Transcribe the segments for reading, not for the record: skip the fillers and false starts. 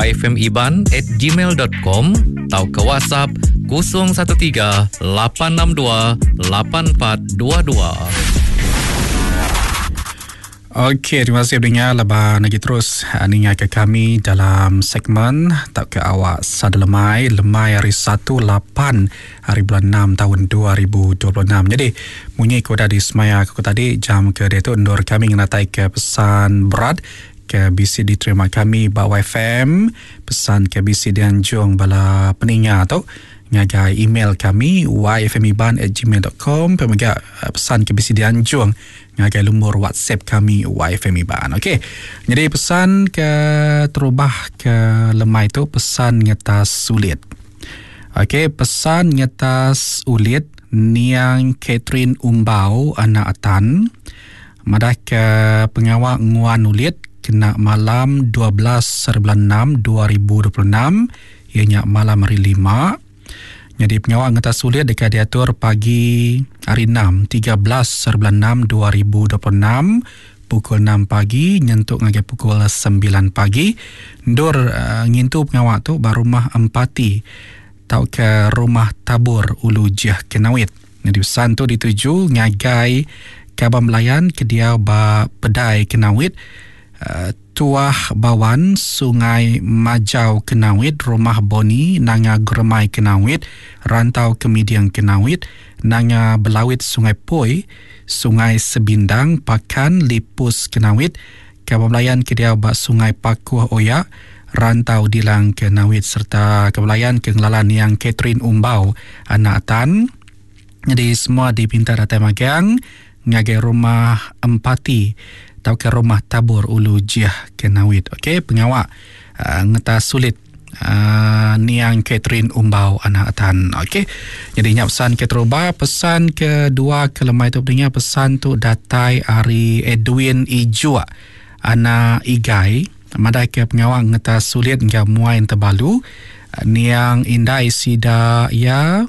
Fmiban at gmail dot com tauka WhatsApp 013 862 8422. Okey, terima kasih pendengar laban lagi terus ah, ninga ke kami dalam segmen tauka awak sada lemai lemai hari 1 8 hari bulan 6 tahun 2026. Jadi munyi ke udah disemaya aku tadi jam ke diatu endur kami ngenatai ke pesan berat ke bisi diterima kami ba YFM, pesan ke bisi dianjung bala peninga tu ngagai email kami yfmiban@gmail.com pia mega eh, pesan ke bisi dianjung ngagai lumur WhatsApp kami YFM Iban. Okey. Jadi pesan ke terubah ke lemai tu pesan ngetas sulit. Okey, pesan ngetas ulit niang Catherine Umbau anak Atan. Madahka pengawa nguan ulit kena malam 12 hari bulan 6 2026 iya nya malam hari Lima. Nyadi pengawa ngetas ulit deka diatur pagi hari Enam 13 hari bulan 6 2026 pukul 6 pagi nyentuk ngagai pukul 9 pagi. Endur uh, ngintu pengawa tu ba Rumah Empati tauka Rumah Tabur Ulu Jeh Kenawit. Nyadi pesan tu dituju ngagai kaban belayan ke diau ba Pedai Kenawit, Tuah Bawan, Sungai Majau Kenawit, Rumah Boni, Nanga Geremai Kenawit, Rantau Kemiding Kenawit, Nanga Belawit Sungai Poi, Sungai Sebindang, Pakan, Lipus Kenawit, kaban belayan ke diau ba Sungai Pakuh Oya, Rantau Dilang Kenawit sereta kaban belayan ke ngelala niang Catherine Umbau anak Tan. Nyadi semua dipinta datai magang ngagai Rumah Empati tauka Rumah Tabur Ulu Jih Kenawit. Okey, pengawa uh, ngetas sulit uh, niang Catherine Umbau anak Tan. Okey. Jadi nya pesan keterubah, pesan kedua ke lemai tu pendengar pesan tu datai ari Edwin Ijuk anak Igai madai ke pengawa ngetas sulit enggau muai entebalu niang indai sida iya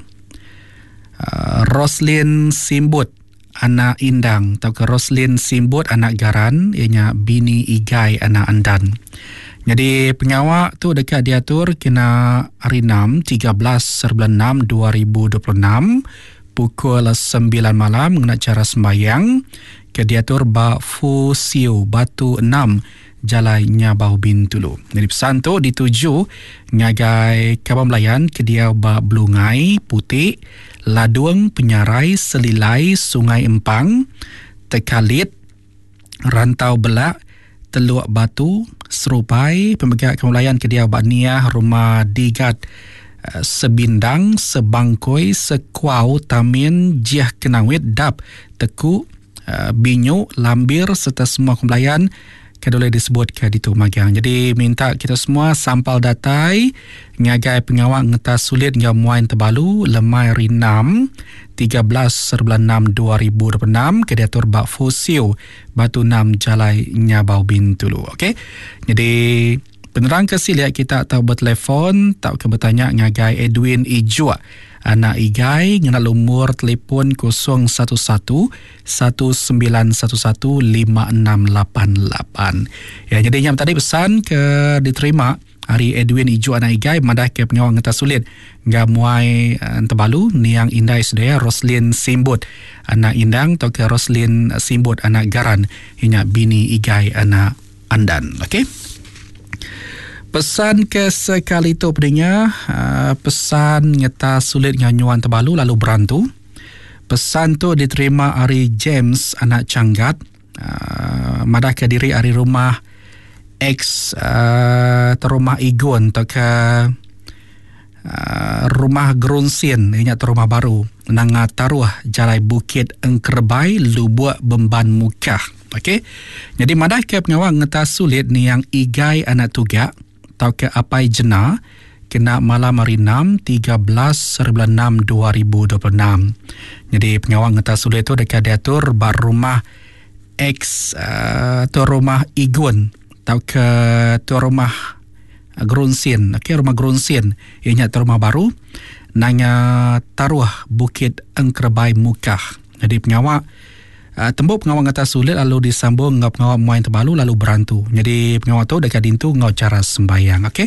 Roslin Simbut anak Indang tauka Roslin Simbut anak Garan iya nya bini Igai anak Andan. Nyadi pengawa tu deka diatur kena hari 6 13 bulan 6 2026 pukul 9 malam ngena chara sembahyang ke diatur ba Fu Siu Batu 6 Jalai Nyabau Bintulu. Nyadi pesan tu dituju ngagai kaban belayan ke diau ba Belungai, Putik, Ladung, Penyarai, Selilai, Sungai Empang, Tekalit, Rantau Belak, Teluk Batu, Serupai, pemega kaban belayan ke diau ba Niah, Rumah Digat, eh, Sebindang, Sebangkoi, Sekuau, Tamin, Jiah Kenawit, Dap, Teku, Eh, binyu, lambir serta semua kebelayan ke boleh disebut ke ditu magang. Jadi minta kita semua sampal datai ngagai pengawa ngetas sulit enggau muai tebalu lemai hari 6 13 bulan 6 2026 ke diatur ba Fosio Batu 6 Jalai Nyabau Bintulu. Okey. Jadi Penerang ke silik kita tau betelefon tauka betanya ngagai Edwin Ijuk anak Igai ngena lumur telefon 011 1911 5688. Ya jadi nya tadi pesan ke diterima ari Edwin Ijuk anak Igai madah ke pengawa ngetas sulit enggau muai eh, entebalu niang indai sedaya Roslin Simbut anak Indang tauka Roslin Simbut anak Garan inya bini Igai anak Andan. Okey. Pesan ke sekali tu pendengar, uh, pesan ngeta sulit dengan nyuan tebalu lalu berantu. Pesan tu diterima ari James anak Changgat uh, madah ke diri ari rumah ex uh, rumah Igun atau ke uh, rumah Gerunsin inya tu rumah baru nanga taruh jalai Bukit Engkerebai Lubuk Bemban Mukah. Okey. Jadi madah ke pengawa ngetas sulit niang Igai anak Tugak tauka Apai Jena kena malam hari 6 13 bulan 6 2026. Jadi pengawa ngetas sulit tu deka diatur ba rumah ex uh, tu rumah Igun tauka tu rumah Gerunsin. Okey, rumah Gerunsin iya nya rumah baru nanga taruh Bukit Engkerebai Mukah. Jadi pengawa uh, tembu pengawa ngetas sulit lalu disambung enggau pengawa muai tebalu lalu berantu. Jadi pengawa tu deka dintu enggau cara sembayang. Okey.